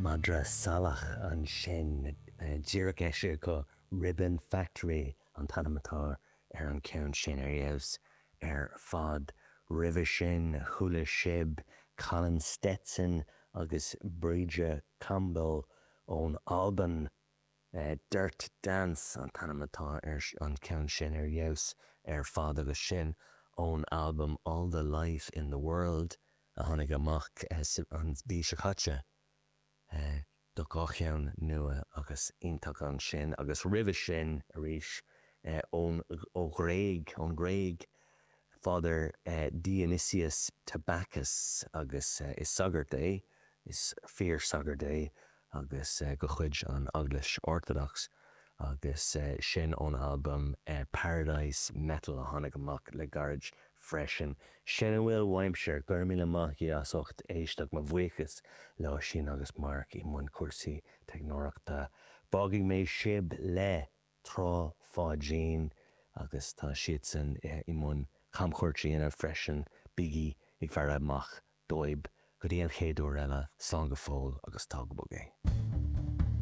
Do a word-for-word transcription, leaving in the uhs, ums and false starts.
Madra Salach ansin díreach eisithe acu Ribbon Factory an t-ainm atá ar an ceann sin ar fheabhas ar fad. Roimhe sin chuala sibh Colin Stetson agus Bríde Campbell ón Albain. Uh, Dirt Dance an t-ainm atá ar an ceann sin ar fheabhas ar fad agus sin ón album All the Life in the World a tháinig amach uh, an mhí seo caite. Uh, do dhá cheann nua agus iontach ansin agus roimhe sin arís uh, ón ó Ghréig ón Ghréig Father uh, Dionysius Tabakis agus uh, is sagart é is fíor sagart é agus uh, de chuid an Eaglais Orthodox agus uh, sin ón album uh, Paradise Metal a tháinig amach le gairid freisin. Sin a bhfuil uaimse go raibh míle maith as ucht éisteacht mo bhuíochas le sin agus Mark i mbun cúrsaí teicneolaíochta. Fágfaidh mé sibh le Trá Pháidín agus tá siadsan i mbun camchuairt a dhéanamh freisin bígí ag faire amach dóibh go dtí an chéad uair eile slán go fóill agus tóg bog é.